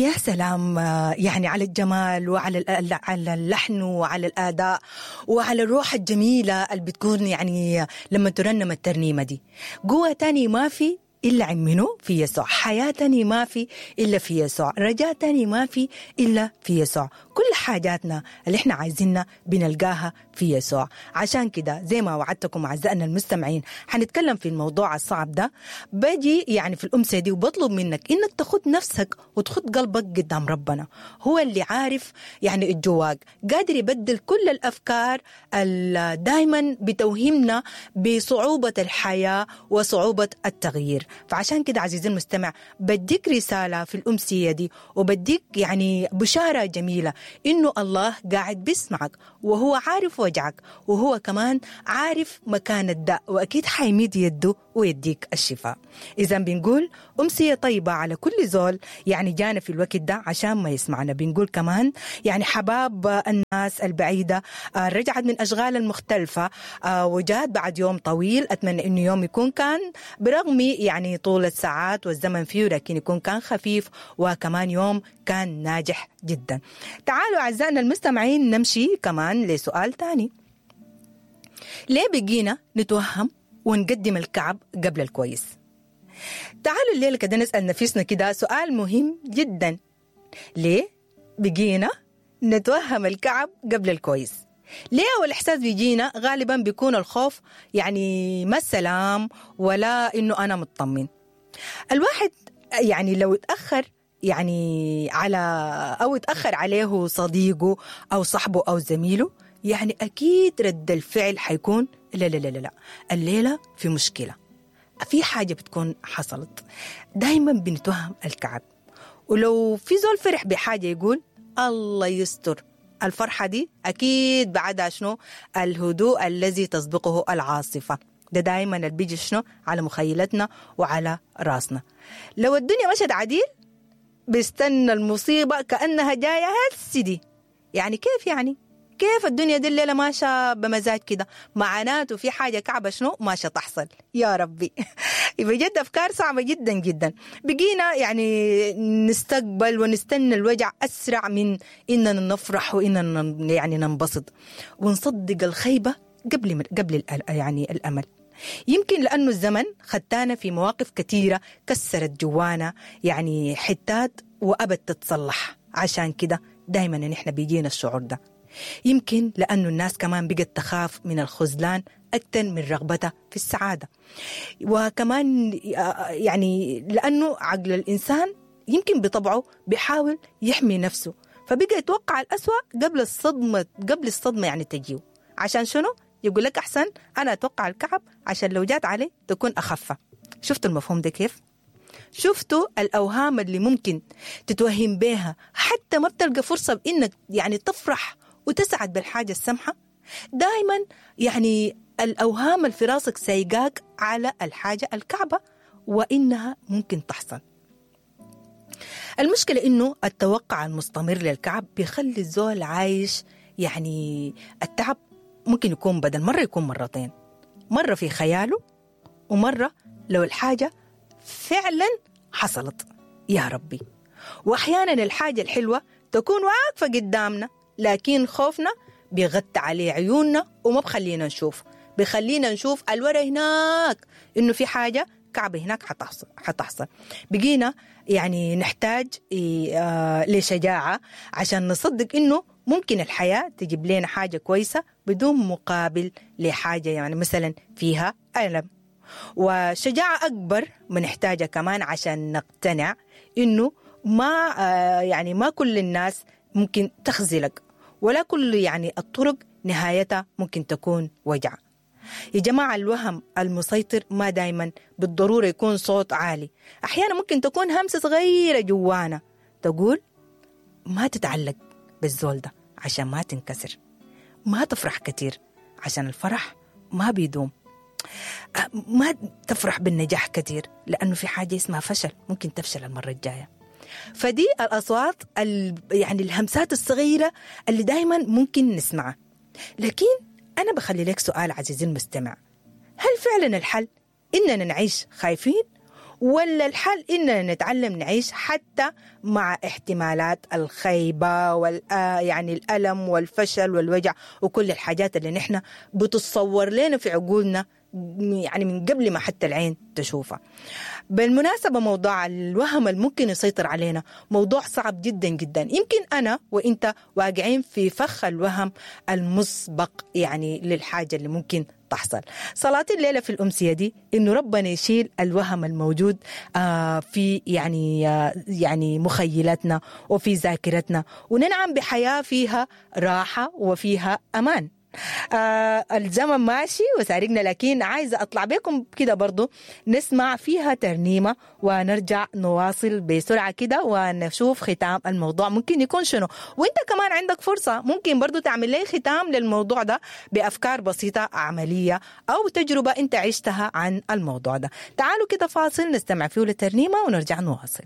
يا سلام، يعني على الجمال وعلى على اللحن وعلى الاداء وعلى الروح الجميلة اللي بتكون يعني لما ترنم الترنيمة دي. قوة تاني ما في إلا عن منو؟ في يسوع. حياة تاني ما في إلا في يسوع. رجاء تاني ما في إلا في يسوع. كل حاجاتنا اللي احنا عايزينها بنلقاها في يسوع. عشان كده زي ما وعدتكم أعزائنا المستمعين حنتكلم في الموضوع الصعب ده. باجي يعني في الأمسية دي وبطلب منك إنك تخد نفسك وتخد قلبك قدام ربنا، هو اللي عارف يعني الجواك، قادر يبدل كل الأفكار اللي دايما بتوهمنا بصعوبة الحياة وصعوبة التغيير. فعشان كده عزيزي المستمع بديك رسالة في الأمسية دي، وبديك يعني بشارة جميلة إنه الله قاعد بيسمعك وهو عارف وجعك، وهو كمان عارف مكان الداء، وأكيد حيميد يده ويديك الشفاء. إذا بنقول أمسية طيبة على كل زول يعني جانا في الوقت ده عشان ما يسمعنا. بنقول كمان يعني حباب الناس البعيدة رجعت من أشغال المختلفة وجات بعد يوم طويل، أتمنى إنه يوم يكون كان برغم يعني طول الساعات والزمن فيه، لكن يكون كان خفيف وكمان يوم كان ناجح جدا. تعالوا أعزائنا المستمعين نمشي كمان لسؤال تاني. ليه بقينا نتوهم ونقدم الكعب قبل الكويس؟ تعالوا الليلة كده نسأل نفسنا كده سؤال مهم جدا. ليه بقينا نتوهم الكعب قبل الكويس؟ ليه والإحساس بيجينا غالبا بيكون الخوف، يعني ما السلام ولا إنه أنا مطمن. الواحد يعني لو اتأخر يعني على أو اتأخر عليه صديقه أو صاحبه أو زميله، يعني أكيد رد الفعل حيكون لا لا لا لا، الليلة في مشكلة، في حاجة بتكون حصلت. دايما بنتوهم الكعب. ولو في زول فرح بحاجة يقول الله يستر، الفرحة دي أكيد بعدها شنو؟ الهدوء الذي تسبقه العاصفة. ده دايما اللي بيجي شنو على مخيلتنا وعلى راسنا. لو الدنيا مشت عديل بيستنى المصيبة كأنها جاية هسي دي. يعني كيف يعني؟ كيف الدنيا دي الليلة ماشية بمزاج كده؟ معناته في حاجة كعبة شنو ماشية تحصل. يا ربي بجد أفكار صعبة جدا جدا. بقينا يعني نستقبل ونستنى الوجع أسرع من إننا نفرح وإننا يعني ننبسط ونصدق الخيبة قبل يعني الأمل. يمكن لأنه الزمن خدتانا في مواقف كثيرة كسرت جوانا يعني حتات وأبد تتصلح، عشان كده دايما نحن بيجينا الشعور ده. يمكن لأنه الناس كمان بقت تخاف من الخذلان أكثر من رغبتها في السعادة، وكمان يعني لأنه عقل الإنسان يمكن بطبعه بيحاول يحمي نفسه، فبقى يتوقع الأسوأ قبل الصدمة يعني تجيه. عشان شنو؟ يقول لك أحسن أنا أتوقع الكعب عشان لو جات عليه تكون أخف. شفتوا المفهوم ده كيف؟ شفتوا الأوهام اللي ممكن تتوهم بيها حتى ما بتلقى فرصة بإنك يعني تفرح وتسعد بالحاجة السمحة؟ دايما يعني الأوهام اللي في راسك سايقاك على الحاجة الكعبة وإنها ممكن تحصل. المشكلة إنه التوقع المستمر للكعب بيخلي الزول عايش يعني التعب ممكن يكون بدل مرة يكون مرتين، مرة في خياله ومرة لو الحاجة فعلا حصلت. يا ربي. وأحيانا الحاجة الحلوة تكون واقفة قدامنا، لكن خوفنا بيغطي عليه عيوننا وما بخلينا نشوف، بخلينا نشوف الورا هناك إنه في حاجة كعبة هناك حتحصل. بقينا يعني نحتاج لشجاعة عشان نصدق إنه ممكن الحياة تجيب لنا حاجة كويسة بدون مقابل لحاجة يعني مثلا فيها ألم. وشجاعة أكبر بنحتاجها كمان عشان نقتنع إنه ما يعني ما كل الناس ممكن تخذلك، ولا كل يعني الطرق نهايتها ممكن تكون وجع. يا جماعة الوهم المسيطر ما دايما بالضرورة يكون صوت عالي، أحيانا ممكن تكون همسة صغيرة جوانا تقول ما تتعلق بالزول ده عشان ما تنكسر، ما تفرح كتير عشان الفرح ما بيدوم، ما تفرح بالنجاح كتير لأنه في حاجة اسمها فشل ممكن تفشل المرة الجاية. فدي الأصوات يعني الهمسات الصغيرة اللي دايما ممكن نسمعها. لكن أنا بخلي لك سؤال عزيزي المستمع، هل فعلا الحل إننا نعيش خايفين، ولا الحل إننا نتعلم نعيش حتى مع احتمالات الخيبة وال يعني الألم والفشل والوجع وكل الحاجات اللي نحن بتتصور لنا في عقولنا يعني من قبل ما حتى العين تشوفها. بالمناسبة موضوع الوهم الممكن يسيطر علينا موضوع صعب جدا جدا. يمكن أنا وإنت واقعين في فخ الوهم المسبق يعني للحاجة اللي ممكن تحصل. صلاة الليلة في الأمسية دي إنه ربنا يشيل الوهم الموجود في يعني يعني مخيلتنا وفي ذاكرتنا، وننعم بحياة فيها راحة وفيها أمان. الزمن ماشي وسارقنا، لكن عايزة أطلع بكم كده برضو نسمع فيها ترنيمة ونرجع نواصل بسرعة كده ونشوف ختام الموضوع ممكن يكون شنو. وانت كمان عندك فرصة ممكن برضو تعمل لي ختام للموضوع ده بأفكار بسيطة عملية أو تجربة انت عشتها عن الموضوع ده. تعالوا كده فاصل نستمع فيه للترنيمة ونرجع نواصل.